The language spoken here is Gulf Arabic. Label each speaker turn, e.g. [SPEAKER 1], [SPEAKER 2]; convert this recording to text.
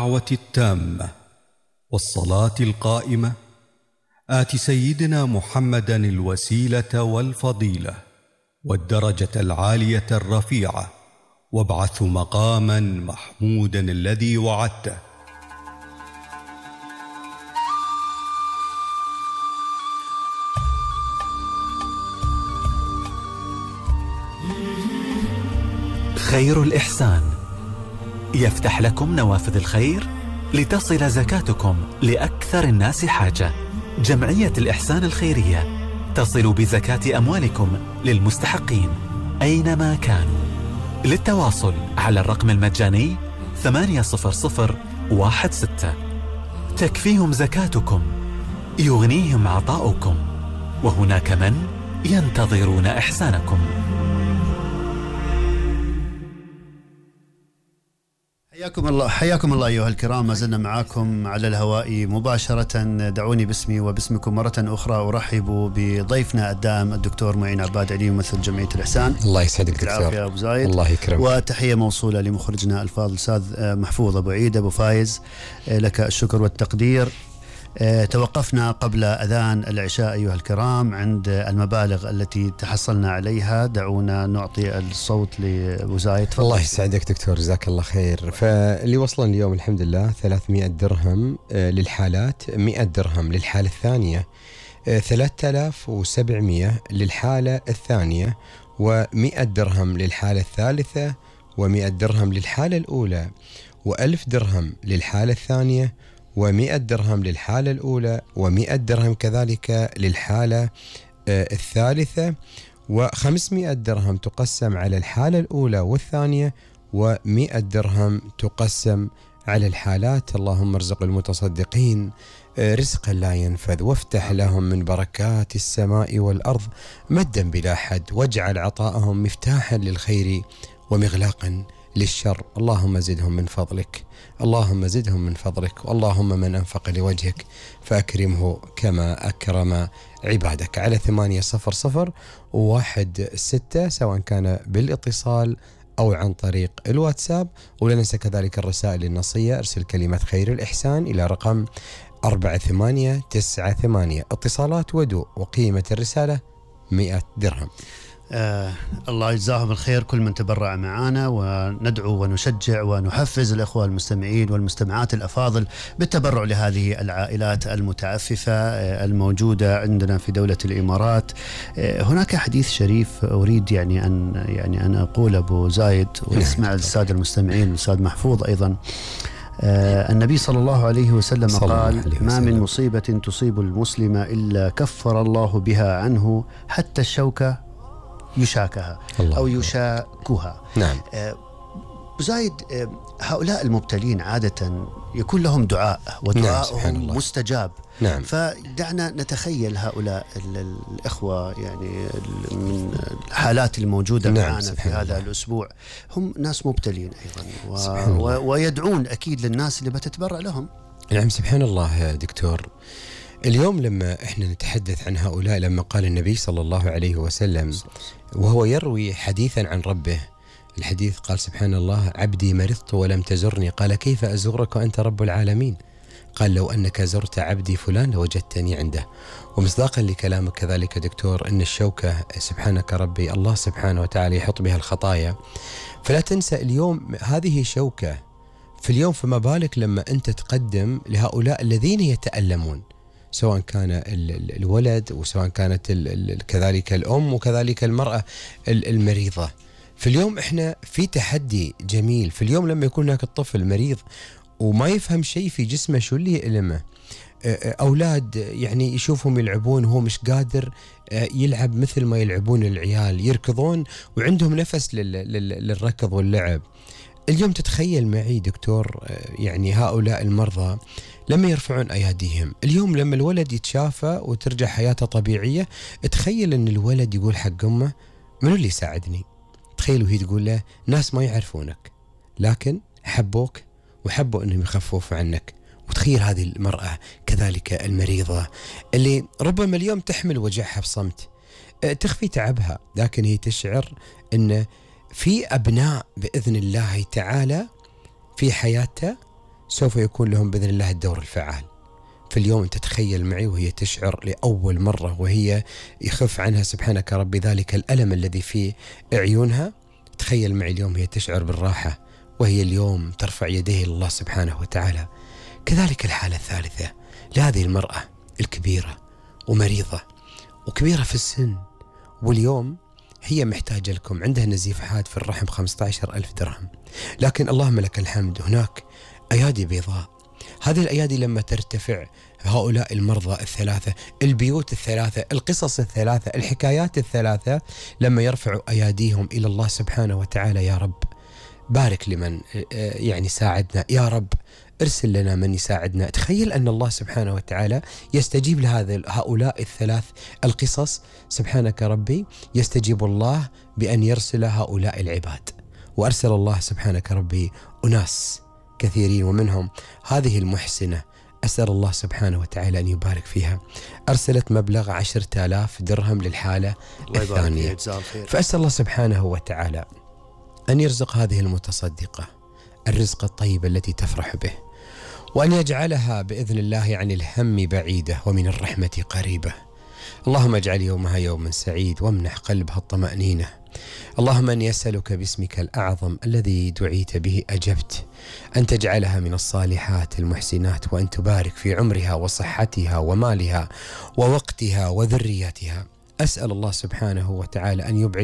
[SPEAKER 1] الدعوة التامة والصلاة القائمة آت سيدنا محمدا الوسيلة والفضيلة والدرجة العالية الرفيعة وابعث مقاما محمودا الذي وعدته.
[SPEAKER 2] خير الإحسان يفتح لكم نوافذ الخير لتصل زكاتكم لأكثر الناس حاجة. جمعية الإحسان الخيرية تصل بزكاة أموالكم للمستحقين أينما كانوا. للتواصل على الرقم المجاني 80016. تكفيهم زكاتكم، يغنيهم عطاؤكم، وهناك من ينتظرون إحسانكم.
[SPEAKER 3] حياكم الله أيها الكرام، ما زلنا معاكم على الهواء مباشرة. دعوني باسمي وباسمكم مرة أخرى أرحب بضيفنا الدائم الدكتور معين عباد علي، ممثل جمعية الإحسان.
[SPEAKER 4] الله يسعدك دكتور.
[SPEAKER 3] يا أبو زايد.
[SPEAKER 4] الله يكرمك.
[SPEAKER 3] وتحية موصولة لمخرجنا الفاضل أستاذ محفوظ أبو عيد أبو فايز، لك الشكر والتقدير. توقفنا قبل أذان العشاء أيها الكرام عند المبالغ التي تحصلنا عليها. دعونا نعطي الصوت لأبو زايد.
[SPEAKER 4] الله يسعدك دكتور، جزاك الله خير. فاللي وصلنا اليوم الحمد لله 300 درهم للحالات، 100 درهم للحالة الثانية، 3700 للحالة الثانية، و100 درهم للحالة الثالثة، و100 درهم للحالة الأولى، و1000 درهم للحالة الثانية، و100 درهم للحالة الأولى، و100 درهم كذلك للحالة الثالثة، و500 درهم تقسم على الحالة الأولى والثانية، و100 درهم تقسم على الحالات. اللهم ارزق المتصدقين رزقا لا ينفذ، وافتح لهم من بركات السماء والأرض مدا بلا حد، واجعل عطاءهم مفتاحا للخير ومغلاقا للشر. اللهم زدهم من فضلك، اللهم زدهم من فضلك. اللهم من أنفق لوجهك فأكرمه كما أكرم عبادك. على 800-16 سواء كان بالاتصال أو عن طريق الواتساب. ولا ننسى كذلك الرسائل النصية، ارسل كلمة خير الإحسان إلى رقم 4898. اتصالات ودو، وقيمة الرسالة 100 درهم.
[SPEAKER 3] الله يجزاهم الخير كل من تبرع معنا، وندعو ونشجع ونحفز الأخوة المستمعين والمستمعات الأفاضل بالتبرع لهذه العائلات المتعففة الموجودة عندنا في دولة الإمارات. هناك حديث شريف أريد أن أقول أبو زايد ونسمع السادة المستمعين والأستاذ محفوظ أيضا. النبي صلى الله عليه وسلم قال: ما من مصيبة تصيب المسلم إلا كفر الله بها عنه حتى الشوكة يشاكها أو يشاكها.
[SPEAKER 4] نعم.
[SPEAKER 3] زايد، هؤلاء المبتلين عادة يكون لهم دعاء ودعاءهم مستجاب.
[SPEAKER 4] نعم.
[SPEAKER 3] فدعنا نتخيل هؤلاء الإخوة من الحالات الموجودة معنا في هذا الأسبوع، هم ناس مبتلين أيضا ويدعون أكيد للناس اللي بتتبرع لهم.
[SPEAKER 4] نعم سبحان الله دكتور. اليوم لما احنا نتحدث عن هؤلاء، لما قال النبي صلى الله عليه وسلم وهو يروي حديثا عن ربه، الحديث قال: سبحان الله، عبدي مرضت ولم تزرني، قال: كيف أزورك وأنت رب العالمين؟ قال: لو أنك زرت عبدي فلان لوجدتني عنده. ومصداقا لكلامك كذلك دكتور، أن الشوكة سبحانك ربي الله سبحانه وتعالى يحط بها الخطايا، فلا تنسى اليوم هذه شوكة في اليوم، فما بالك لما أنت تقدم لهؤلاء الذين يتألمون، سواء كان الولد وسواء كانت كذلك الأم وكذلك المرأة المريضة. في اليوم احنا في تحدي جميل، في اليوم لما يكون هناك الطفل مريض وما يفهم شيء في جسمه، شو اللي يألمه؟ أولاد يعني يشوفهم يلعبون وهو مش قادر يلعب مثل ما يلعبون العيال، يركضون وعندهم نفس للركض واللعب. اليوم تتخيل معي دكتور يعني هؤلاء المرضى لما يرفعون أياديهم، اليوم لما الولد يتشافى وترجع حياته طبيعية، تخيل أن الولد يقول حق أمه: منو اللي يساعدني؟ تخيل وهي تقول له: ناس ما يعرفونك لكن حبوك وحبوا أنهم يخففوا عنك. وتخيل هذه المرأة كذلك المريضة اللي ربما اليوم تحمل وجعها بصمت، تخفي تعبها، لكن هي تشعر أن في أبناء بإذن الله تعالى في حياتها سوف يكون لهم بإذن الله الدور الفعال. في اليوم أنت تخيل معي وهي تشعر لأول مرة وهي يخف عنها سبحانك ربي ذلك الألم الذي في عيونها، تخيل معي اليوم هي تشعر بالراحة وهي اليوم ترفع يديه لله سبحانه وتعالى. كذلك الحالة الثالثة لهذه المرأة الكبيرة ومريضة وكبيرة في السن، واليوم هي محتاجة لكم، عندها نزيف حاد في الرحم 15,000 درهم، لكن اللهم لك الحمد هناك أيادي بيضاء. هذه الأيادي لما ترتفع، هؤلاء المرضى الثلاثة، البيوت الثلاثة، القصص الثلاثة، الحكايات الثلاثة، لما يرفعوا أياديهم إلى الله سبحانه وتعالى، يا رب بارك لمن يعني ساعدنا، يا رب ارسل لنا من يساعدنا. تخيل أن الله سبحانه وتعالى يستجيب هؤلاء الثلاث القصص. سبحانك ربي يستجيب الله بأن يرسل هؤلاء العباد، وأرسل الله سبحانك ربي أناس كثيرين، ومنهم هذه المحسنة أسأل الله سبحانه وتعالى أن يبارك فيها، أرسلت مبلغ 10,000 درهم للحالة الثانية. فأسأل الله سبحانه وتعالى أن يرزق هذه المتصدقة الرزق الطيب التي تفرح به، وأن يجعلها بإذن الله عن الهم بعيدة ومن الرحمة قريبة. اللهم اجعل يومها يوما سعيد وامنح قلبها الطمأنينة. اللهم أني أسألك باسمك الأعظم الذي دعيت به أجبت أن تجعلها من الصالحات المحسنات، وأن تبارك في عمرها وصحتها ومالها ووقتها وذريتها. أسأل الله سبحانه وتعالى أن يبعد